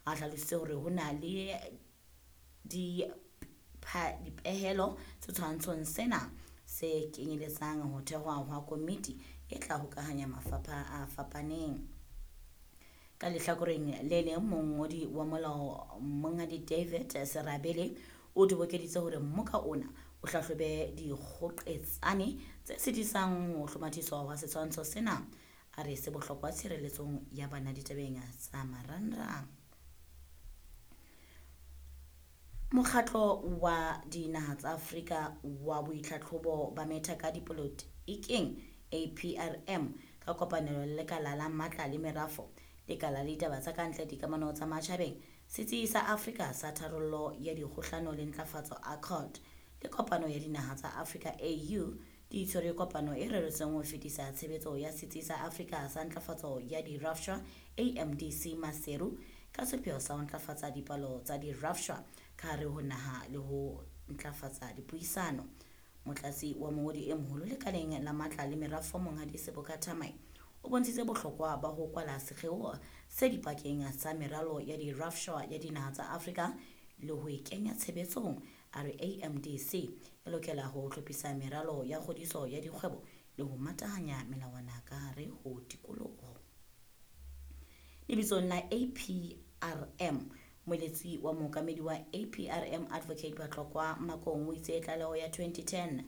A hlalositse hore ho na le dipehelo setshwantshong sena se kenyeletsang ho thehwa hwa komiti e tla hokahanya mafapha a fapaneng. Ka lehlakoreng le leng, mongodi wa molao Monghadi David Serabele o tobokeditse hore mmoka ona o hlahlobe dikgoqetsane tse sitisang ho hlomathiswa hwa setshwantsho sena. A re se bohlokwa tshireletsong ya bana ditabeng tsa marangrang. Mokgatlo wa Dinaha tsa Afrika wa Boitlhatlhobo ba Metha ka Dipolotiking, APRM, ka kopanelo le Lekala la Matla le Merafo, Lekala la Ditaba tsa Kantle Dikamano tsa Matjhabeng, Setsi sa Afrika sa Tharollo ya Dikgohlano le Ntlafatso, ACORD, le Kopano ya Dinaha tsa Afrika, AU, di tshwere kopano e reretsweng ho fetisa tshebetso ya Setsi sa Afrika sa Ntlafatso ya Dirafshwa, AMDC, Maseru, ka sepheo sa ho ntlafatsa dipalo tsa dirafshwa ka hare ho naha le ho ntlafatsa dipuisano. Motlatsi wa mongodi e moholo lekaleng la matla le merafo Monghadi Seboka Thamae o bontshitse bohlokwa ba ho kwala sekgeo se dipakeng tsa meralo ya dirafshwa ya dinaha tsa Afrika le ho e kenya tshebetsong. A re AMDC e lokela ho hlophisa meralo ya kgodiso ya dikgwebo le ho matahanya melawana ka hare ho tikoloho. Lebitsong la APRM, moeletsi wa mookamedi wa APRM Advocate Batlokwa Makong o itse tlaleho ya 2010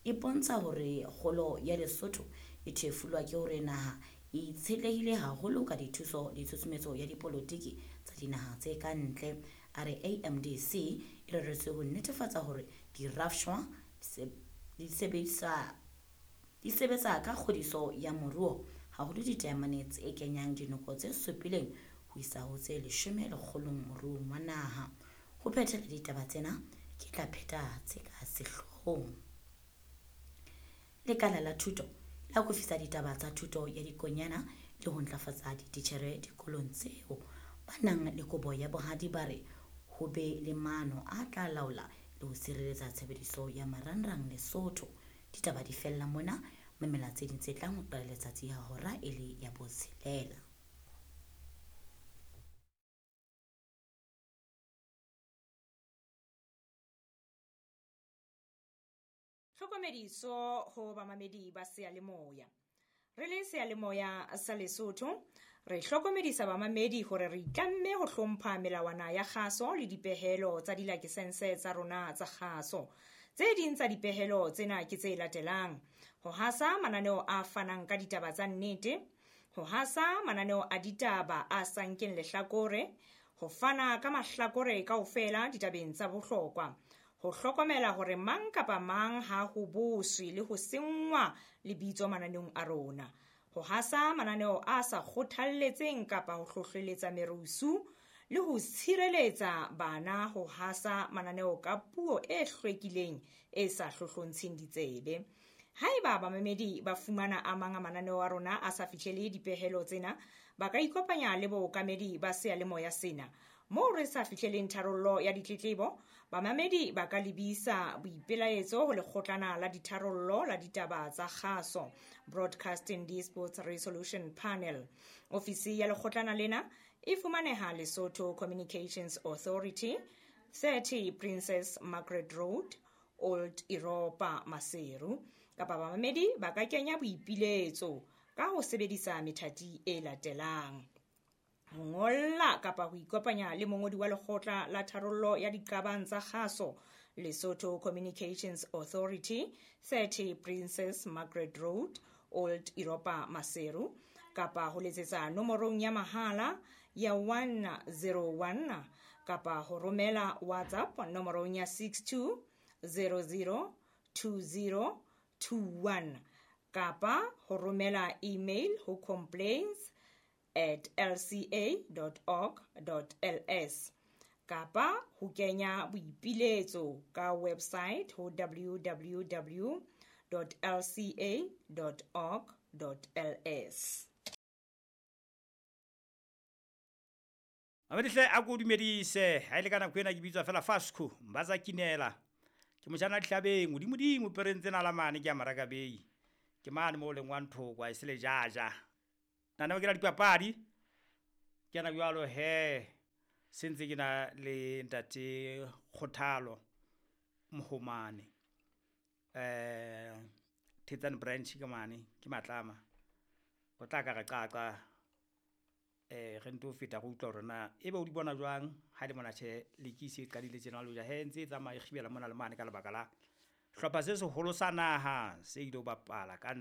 e bontsha hore kgolo ya Lesotho e thefulwa ke hore naha e itshetlehile haholo ka dithuso le tshusumetso ya dipolotiki tsa dinaha tse ka ntle. A re AMDC e reretswe ho netefatsa hore dirafshwa di sebetsa ka kgodiso ya moruo, haholo ditaemane tse kenyang dinoko tse supileng ho isa ho tse 10 lekgolong moruong wa naha. Ho phethela ditaba tsena, ke tla pheta tse ka sehloohong. Lekala la thuto la akofisa ditaba tsa thuto ya dikonyana le ho ntlafatsa dititjhere dikolong tseo. Ba nang le kobo ya bohadi ba re ho be le maano a tla laola le ho sireletsa tshebediso ya marangrang Lesotho. Ditaba di fella mona, mamela tse ding tse tlang ho qala letsatsi ha hora e le ya botshelela. Tlhokomediso ho bamamedi ba seyalemoya. Re le seyalemoya sa Lesotho, re hlokomedisa bamamedi hore re itlamme ho hlompha melawana ya kgaso le dipehelo tsa dilakesense tsa rona tsa kgaso. Tse ding tsa dipehelo tsena ke tse latelang: ho hasa mananeo a fanang ka ditaba tsa nnete, ho hasa mananeo a ditaba a sa nkeng lehlakore, ho fana ka mahlakore kaofela ditabeng tsa bohlokwa, ho hlokomela hore mang kapa mang ha ho boswe le ho senngwa lebitso mananeong a rona, ho hasa mananeo a sa kgothalletseng kapa ho hlohleletsa merusu, le ho tshireletsa bana ho hasa mananeo ka puo e hlwekileng e sa hlohlontsheng ditsebe. Haeba bamamedi ba fumana a mang a mananeo a rona a sa fihlele dipehelo tsena, ba ka ikopanya le bookamedi ba seyalemoya sena. Moo re sa fihleleng tharollo ya ditletlebo, bamamedi ba ka lebisa boipelaetso ho lekgotlana la ditharollo la ditaba tsa kgaso, Broadcasting Disputes Resolution Panel. Ofisi ya lekgotlana lena e fumaneha Lesotho Communications Authority, 30 Princess Margaret Road, Old Europa, Maseru. Kapa bamamedi ba ka kenya boipiletso ka ho sebedisa methati e latelang: ho ngolla kapa ho ikopanya le mongodi wa lekgotla la tharollo ya diqabang tsa kgaso, Lesotho Communications Authority, 30 Princess Margaret Road, Old Europa, Maseru, kapa ho letsetsa nomorong ya mahala ya 101 kapa ho romela WhatsApp nomorong ya 62 00 20 21 kapa ho romela email ho complaints@lca.org.ls kapa ho kenya boipiletso ka website ho www.lca.org.ls. Mamedihle a ko dumedise ha ile ka nako ena ke bitswa fela Fasco Mbaza Kinela. Ke mojana dihlabeng modimo pereng tsena la mane ke ya Marakabei. Ke mane mo leng wa nthoko a sele jaja. Nna ke la dipapadi. Ke ana jwalo he. Se ntse ke na le ntate Kgothalo Mohomane. Thetsane branch ke mane, ke Matlama. O tla ka re qaqa re nto feta go utlwa hore na ebe o di bona jwang ha le mona tjhe lekisi e qadile tjena le hoja he ntse e tsamaya e kgibela mona le mane ka lebaka la hlopha se seholo sa naha se ile bapala ka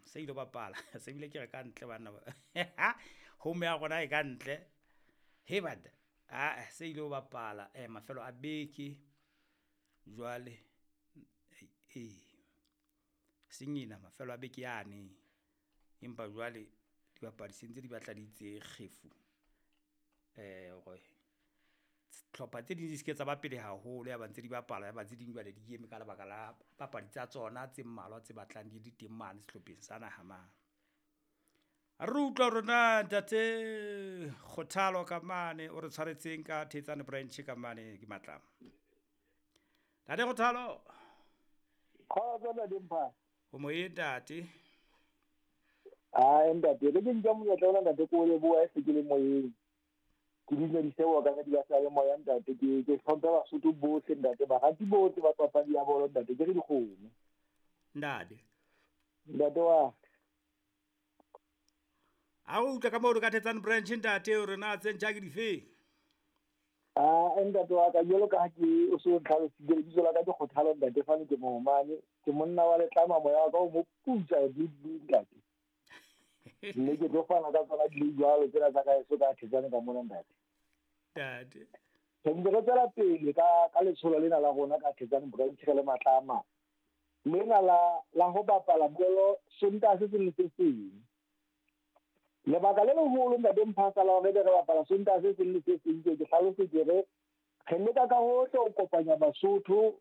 se ile bapala se bile ke re ka ntle banna home ya rona e ka ntle he bada a se ile bapala mafelo a beke jwale sengina mafelo a beke yane empa jwale dibapadi se ntse di batla di itse kgefu hore tlhopha tse ding di se ke tsa ba pele haholo ya ba ntse di bapala ya ba tse ding jwale di eme ka lebaka la papadi tsa tsona tse mmalwa tse batlang di le teng mane sehlopheng sa naha mane. Re utlwa rona ntate Kgothalo ka mane o re tshwaretseng ka Thetsane branch ka mane ke Matlama. Ntate Kgothalo. Kgotso ntate Mpha. O moyeng ntate. Ai ntate, re ke nka monyetla ona ntate ko leboha e se ke le moyeng. Ke dumedise wa ka di ba sa le moya ntate, ke hlompha Basotho bohle ntate, barati bohle ba papadi ya bolo ntate, ke re dikgomo. Ntate. Ntate wa. A o utlwa ka moo ka Thetsane branch ntate o re na tse ntjha ke dife? Ah ntate wa ka jwalo ka ha ke o so ntlhalositse lebitso la ka ke Kgothalo ntate, fane ke Mohomane, ke monna wa Letlama moya wa ka o mo putsa ntate. Mme ke tlo fana ka tsona di le jwalo tsena tsa ka eso ka Thetsane ka mona ntate. Ntate. Re ntse re tswela pele ka letsholo lena la rona ka Thetsane branch re le Matlama. Lena la ho bapala bolo Sontaha se seng le se seng. Lebaka le leholo ntate Mphasa la hore re bapala Sontaha se seng le se seng ke hlalosetse re leka ka hohle ho kopanya Basotho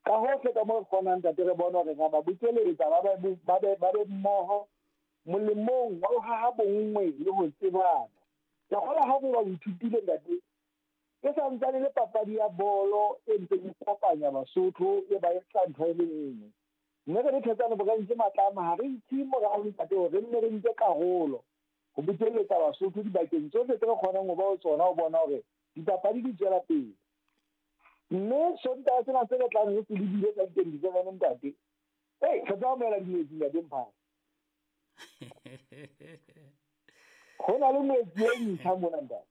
ka hohle ka moo re kgonang ntate, re bone hore ra ba bokeletsa ba be mmoho molemong wa ho haha bonngwe le ho tsebana. Ke kgolwa ha re ba ithutile ntate, e santsane le papadi ya bolo e ntseng e kopanya Basotho e ba etsa ntho e le nngwe. Mme re le Thetsane branch Matlama ha re itse morao ntate hore re nne re nke karolo ho bokeletsa Basotho dibakeng tsohle tse re kgonang ho ba ho tsona ho bona hore dipapadi di tswela pele. Mme Sontaha sena se re tlang re se lebile ka 27 ntate, re tla amohela dinetsi ntate Mphasa. Ho na le metsi e ntjha mona ntate.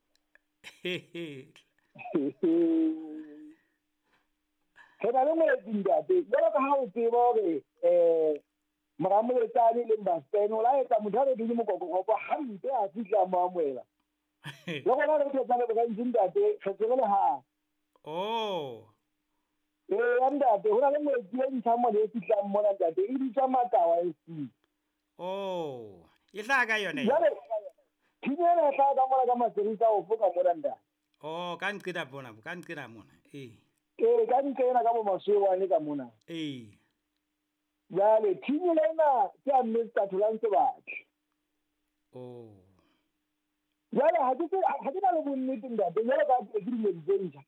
Re na le metsi ntate, jwalo ka ha o tseba hore mora Moletsane le Mbastene o la etsa motho a re dule mokokokopo hampe a fihla mo amohela. Le rona re Thetsane branch ntate, re tsebe le ha. Oh. Ntate, ho na le metsi e ntjha mona e fihlang mona ntate, e bitswa Matawa FC. Oh, e tla ka yone. Jwale team ena e tla ka mona ka Maserisa ofo ka mona ntate. Oh, ka nqena bona, ka nqena mona. Ee, ka nqena ka bo Maswewane ka mona. Ee. Jwale team ena ke ya Mr. Tholang Sebatle. Oh. Jwale ha ke na le bonnete ntate, jwale ka ke dilemo tse ntjha.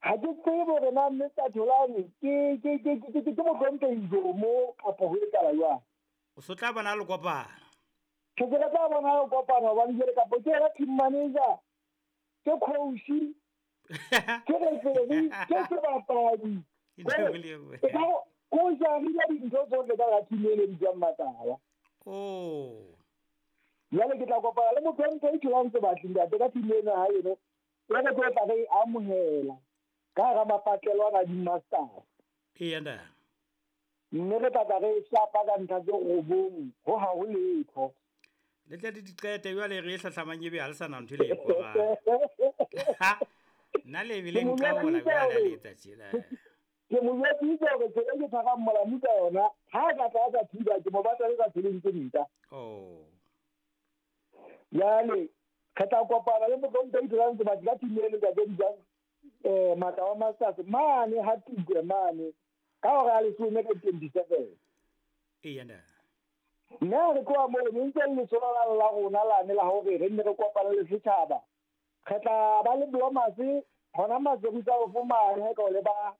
Ha ke tsebe hore na Mr. Tholang ke mohlomphehi mo kapa ho etsahala jwang. O so tla bona le kopana. Ke se tla bona le kopana hobane jwale kapa ke yena team manager, ke coach, ke referee, ke sebapadi. Ko jarile dintho tsohle ka team e bitswang Matawa. Oh. Jwale ke tla kopana le mohlomphehi Tholang Sebatle ntate ka team ena ha eno. Ya re tlo tla re amohela ka hara mapatlelo ana di-masters. Ee ntate. Mme re tla re shapa ka ntlha tse 9 ho ha ho letho. Le tle le diqete jwale re e hlahlamang ebe ha le sa na ntho e le e qobang. Nna le ebile nqabola jwale le etsa tjena. Ke mo jwetsitse hore tsela e ke tshwarang molamu ka yona, ha a ka tla a sa thiba, ke mo batla le ka tseleng tse nta. Oh. Jwale re tla kopana le mohlomphehi Tholang Sebatle ka team eno ntate e bitswang Matawa Masters mane ha Tukwe mane ka hora ya 10 ka 27. Ee ntate. Mme ha re tloha moo ne ntse le letsholo la rona lane la hore re nne re kopane le setjhaba. Re tla ba le Blomas hona Maserisa ofo mane ka o le ba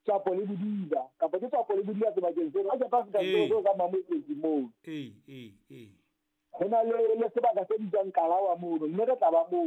Tswapo le Bodiba kapa ke Tswapo le Bodiba sebakeng seno. Ha ke pa fihla seo ka Mamelodi moo. Ee. Ho na le sebaka se bitswang Kalawa mono, mme re tla ba moo.